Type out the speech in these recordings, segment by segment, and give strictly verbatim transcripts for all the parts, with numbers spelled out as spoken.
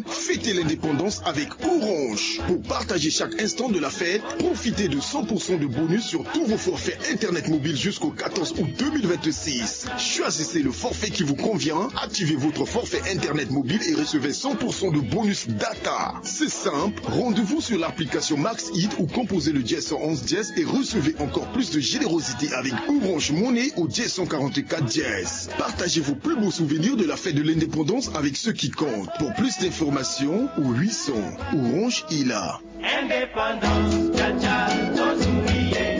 Fêtez l'indépendance avec Orange. Pour partager chaque instant de la fête, profitez de cent pour cent de bonus sur tous vos forfaits Internet mobile jusqu'au quatorze août deux mille vingt-six. Choisissez le forfait qui vous convient, activez votre forfait Internet mobile et recevez cent pour cent de bonus data. C'est simple, rendez-vous sur l'application Max Hit ou composez le dièse cent onze dièse et recevez encore plus de générosité avec Orange Money au dièse cent quarante-quatre dièse. Partagez vos plus beaux souvenirs de la fête de l'indépendance avec ceux qui comptent. Pour plus d'informations, au huit cents, Orange est là. Indépendance, tcha tcha, tozongi ye.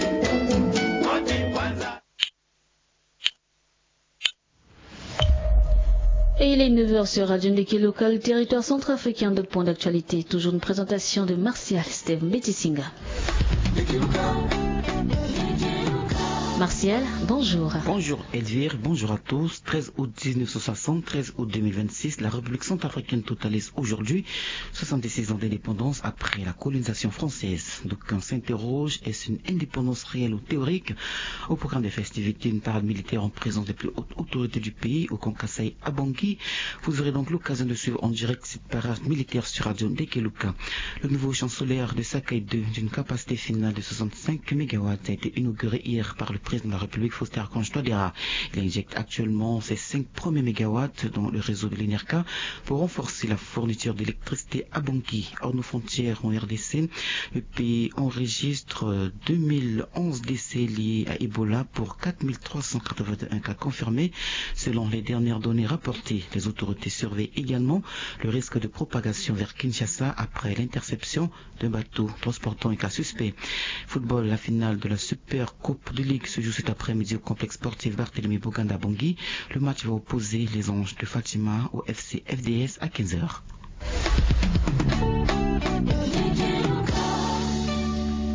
Oti kwanza. Et il est neuf heures sur Radio Ndeke Local, territoire centrafricain de Point d'Actualité. Toujours une présentation de Martial Steve Mbetisinga. Martial, bonjour. Bonjour Elvire, bonjour à tous. Treize août dix-neuf cent soixante, treize août deux mille vingt-six, la République centrafricaine totalise aujourd'hui soixante-six ans d'indépendance après la colonisation française. D'aucuns s'interrogent, est-ce une indépendance réelle ou théorique ? Au programme des festivités, une parade militaire en présence des plus hautes autorités du pays au camp Kasaï à Bangui. Vous aurez donc l'occasion de suivre en direct cette parade militaire sur Radio Ndeke Local. Le nouveau chancelier de Sakaï deux, d'une capacité finale de soixante-cinq mégawatts, a été inauguré hier par le président de la République, Faustin Archange Touadéra. Il injecte actuellement ses cinq premiers mégawatts dans le réseau de l'ENERCA pour renforcer la fourniture d'électricité à Bangui. Hors nos frontières, en R D C, le pays enregistre deux mille onze décès liés à Ebola pour quatre mille trois cent quatre-vingt-un cas confirmés, selon les dernières données rapportées. Les autorités surveillent également le risque de propagation vers Kinshasa après l'interception d'un bateau transportant un cas suspect. Football, la finale de la Super Coupe de Ligue se joue cet après-midi au complexe sportif Barthélemy Boganda Bangui. Le match va opposer les Anges de Fatima au F C F D S à quinze heures.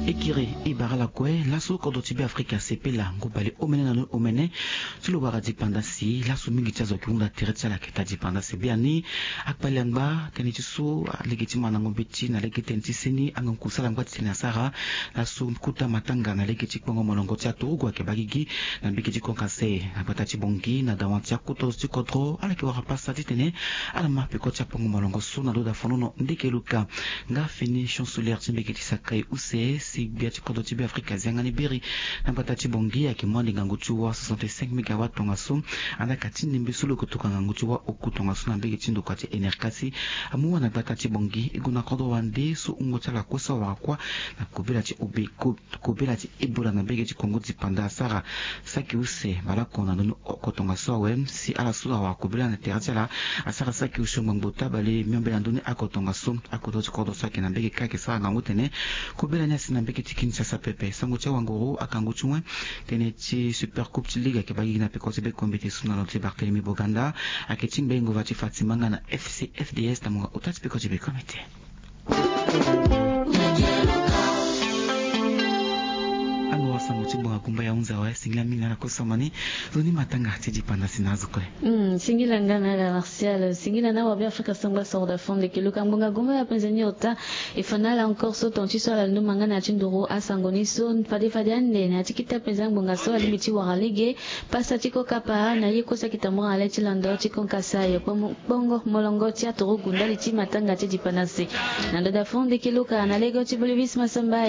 Ekiri e bara lakue laso kodro ti Beafrika asepela ngu bale omene na loni omene ti lo wara dipanda si laso mingi ti azo ayeke hunda tere ti ala ayeke taa dipanda si biani. Akpali angba tënë ti so alege ti mandango mbeti na lege tënë ti seni angangu kusala angba ti tene asara laso kota matanga na lege ti kpongo molongo ti aturugu ayeke baa gigi na mbage ti Konkase na gbata ti Bangui na dawa ti akota zo ti kodro ala yeke wara pasa titene ala ma peko ti akpongo molongo so na ndo dafonono ndeke luka. Nga fini chancelière ti mbage ti Sakaï use si gbia ti kodro ti Beafrika azianga ni biri na gbata ti Bangui ayeke mu ande ngangu ti wa soixante-cinq mégawatts tongaso. Andaa ka ti nembe so lo yeke tokua ngangu ti wa oku tongaso na mbage ti ndokua ti enerkasi amu wa na gbata ti Bangui e gue na kodro wande so wungo ti ala kue so awara kuâ na kobela ti obe ko kobela ti Ebola na mbage ti Kongo dipanda asara saki use baleoko na ndoni oko tongaso awe si ala so awara kobela na tere ti ala asara saki use ngbangbo tabale miombe na ndoni oko tongaso. Akodro ti kodro so ayeke na mbage kâ ayeke sara ngangu tene kobela ni asi na mbage ti Kinshasa pepe. Sango ti awanguru akangu ti wen tënë ti Super Coupe ti Ligue ayeke baa gigi na peko ti bekombete so na lo ti Barthélemy Boganda ayeke ti ngbengo va ti Fatima nga na F C F D S na mungo ota ti peko ti bekombete. Alo wasango ti bonga gumba ya hunza wa singila mingi na ala kue sambani. Zo ni matanga ti dipanda si na azo kue. Hmm, singila nga na ala Martial, singila na wabe Afrika sangba soro da fond de kiluka ngbonga gumba ya penze ni ota. E fa na ala encore so ton ti so ala luma nga na ya ti nduru asango ni so fade fade ande na ya ti kita penze ngbonga so alingbi ti wara lege. Pasa ti kokapa na ye kue so ayeke tambura na le ti londo ti konkasa yo kpongo molongo ti aturugu ndali ti matanga ti dipanda si. Na ndo da fond de kiluka na lege ti bolivis masamba.